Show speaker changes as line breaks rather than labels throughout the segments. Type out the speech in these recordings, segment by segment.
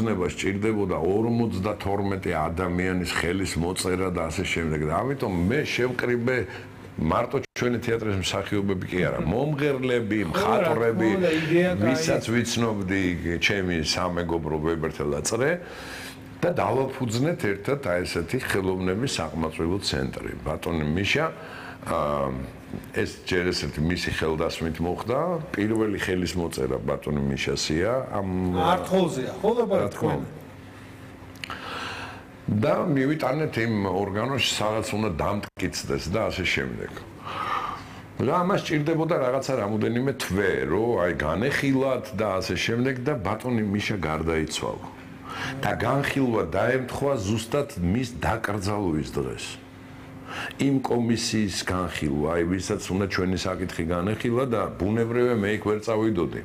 დაფუძნება სჭირდებოდა 52 ადამიანის ხელის მოწერა და ასე შემდეგ. და ამიტომ მე შევკრიბე მარტო ჩვენი თეატრის მსახიობები კი არა, მომღერლები, მხატვრები, ვისაც ვიცნობდი, ჩემი სამეგობრო ვებერთელ და წრე და დავაფუძნეთ ერთად აი ესეთი ხელოვნების საყმაწვილო ცენტრი. ბატონი მიშა ეს ჯერ ესეთი მისი ხელდასმით მოხდა, პირველი ხელის მოწერა ბატონი მიშასია ამ
არტყოლზეა, ხო და ბატონი
და მივიტანეთ იმ ორგანოში, სადაც უნდა დამტკიცდეს და ასე შემდეგ. და ამას სჭირდებოდა რაღაცა რამოდენიმე თვე, რომ აი განეხილათ და ასე შემდეგ და ბატონი მიშა გარდაიცვალა. და განხილვა დაემთხვა ზუსტად მის დაკრძალვის დღეს. იმ კომისიის განხილვა, აი ვისაც უნდა ჩვენი საკითხი განეხილა და ბუნებრივია მე იქ ვერ წავიდოდი.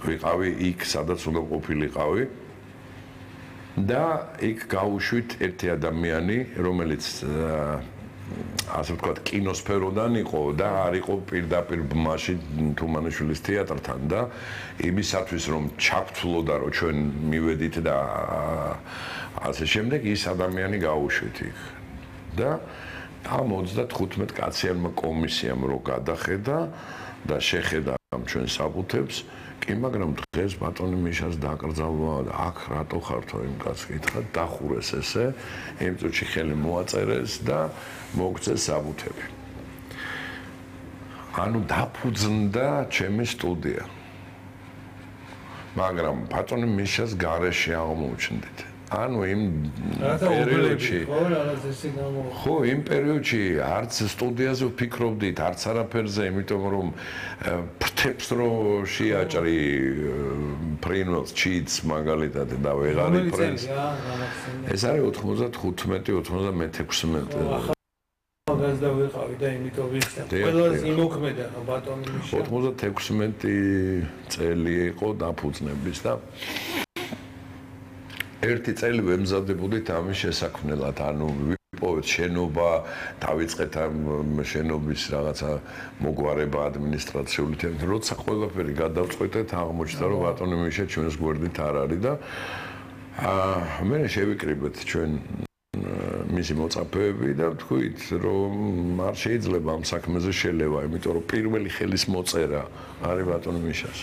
ვიყავი იქ, სადაც უნდა ყოფილიყავი. და იქ გავუშვით ერთი ადამიანი, რომელიც ასე ვთქვათ, კინოსფეროდან იყო და არ იყო პირდაპირ ბმაში თუმანიშვილის თეატრთან და იმისათვის რომ ჩაგთვლოდა რომ ჩვენ მივედით და ასე შემდეგ ის ადამიანი გავუშვით იქ. და ამ 35 კაციანმა კომისიამ რო გადახედა და შეხედა ამ ჩვენ საბუთებს, კი, მაგრამ დღეს ბატონი მიშას დაკრძალვა და აქ რატო ხართო იმ კაცს კითხა, დახურეს ესე, იმ წუთში ხელი მოაწერეს და მოგწეს საბუთები. ანუ დაფუძნდა ჩემი სტუდია. მაგრამ ბატონი მიშას გარეშე აღმოჩნდით. ანუ იმ პერიოდში ხო იმ პერიოდში არც სტუდიაზე ვფიქრობდით, არც არაფერზე, იმიტომ რომ ფრთებს რო შეაჭრი ფრინველს ჩიც მაგალითად და ვეღარ იფრენს. ეს არის 95-96
ახალგაზრდა ვიყავი და იმიტომ ვიცი. ყველაზე იმოქმედა ბატონი მიშა.
96 წელი იყო დაფუძნების და ერთი წელი ვემზადებოდით ამის შესაქმნელად, ანუ ვიპოვეთ შენობა, დავიწყეთ ამ შენობის რაღაცა მოგვარება ადმინისტრაციული თემით, როცა ყველაფერი გადავწყვეტეთ, აღმოჩნდა რომ ბატონი მიშა ჩვენს გვერდით არ არის და მე შევიკრიბეთ ჩვენ მისი მოწაფეები და ვთქვით, რომ არ შეიძლება ამ საქმეზე შელევა, იმიტომ რომ პირველი ხელის მოწერა არის ბატონი მიშას.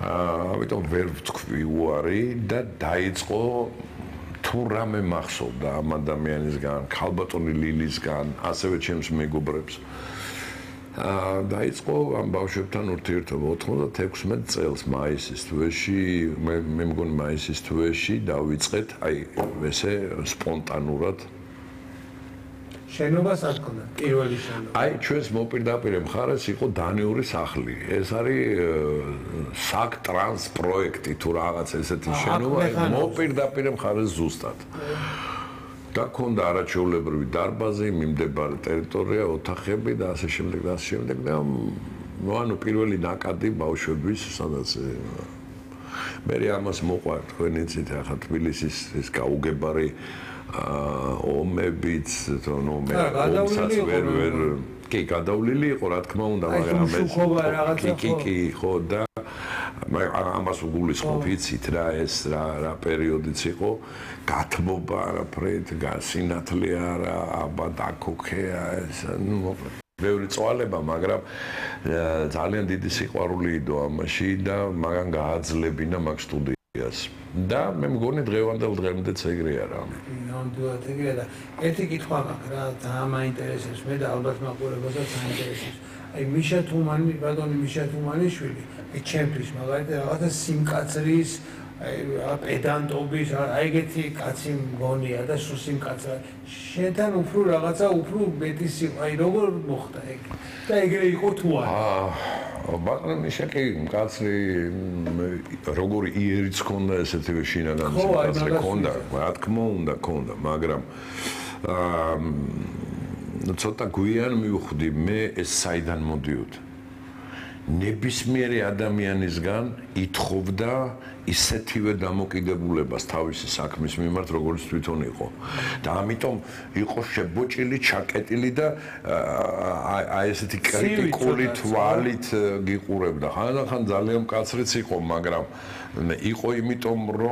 ამიტომ ვერ ვთქვი უარი და დაიწყო თუ რამე მახსოვდა ამ ადამიანისგან, ქალბატონი ლილისგან, ასევე ჩემს მეგობრებს. დაიწყო ამ ბავშვებთან ურთიერთობა 96 წელს მაისის თვეში, მე მგონი მაისის თვეში დავიწყეთ, აი ესე სპონტანურად
შენობას არ ქონდა პირველი შენობა.
აი ჩვენს მოპირდაპირე მხარეს იყო დანიური სახლი. ეს არის საკტრანს პროექტი თუ რაღაც ესეთი შენობა, მოპირდაპირე მხარეს ზუსტად. და ქონდა არაჩვეულებრივი დარბაზი, მიმდებარე ტერიტორია, ოთახები და ასე შემდეგ და ასე შემდეგ და ანუ პირველი ნაკადი ბავშვების, სადაც მე ამას მოყვა თქვენ იცით ახლა თბილისის ეს გაუგებარი ომებიც, ნუ მე ომსაც ვერ კი გადავლილი იყო, რა თქმა უნდა, მაგრამ კი, ხო და ამას უგულისხმობ, იცით რა ეს რა პერიოდიც იყო, გათმობა არაფრით, სინათლე არა, აბა დაქოქეა ეს, ნუ მოკლედ ბევრი წვალება, მაგრამ ძალიან დიდი სიყვარული იდო ამაში და მაგან გააძლებინა მაგ სტუდიას. და მე მგონი დღევანდელ დღემდეც ეგრე არა.
ნამდვილად ეგრეა და ერთი კითხვა მაქვს რა, ძალიან მაინტერესებს მე და ალბათ მაყურებელსაც აინტერესებს. აი მიშა თუმანი, ბატონი მიშა თუმანიშვილი, ჩემთვის მაგალითად რაღაცა სიმკაცრის, აი პედანტობის, აი ეგეთი კაცი მგონია და სულ სიმკაცრა. შენთან უფრო რაღაცა უფრო მეტი აი როგორ მოხდა ეგ? და ეგრე იყო თუ არა?
ბატონი მიშა კი მკაცრი როგორი იერიც ჰქონდა ესეთივე შინაგანი სიმკაცრე ჰქონდა, რა თქმა უნდა ჰქონდა, მაგრამ ცოტა გვიან მივხვდი მე ეს საიდან მოდიოდა. ნებისმიერი ადამიანისგან ითხოვდა ისეთივე დამოკიდებულებას თავისი საქმის მიმართ, როგორც თვითონ იყო. და ამიტომ იყო შებოჭილი, ჩაკეტილი და აი ესეთი კრიტიკული თვალით გიყურებდა. ხანდახან ძალიან მკაცრიც იყო, მაგრამ იყო იმიტომ რომ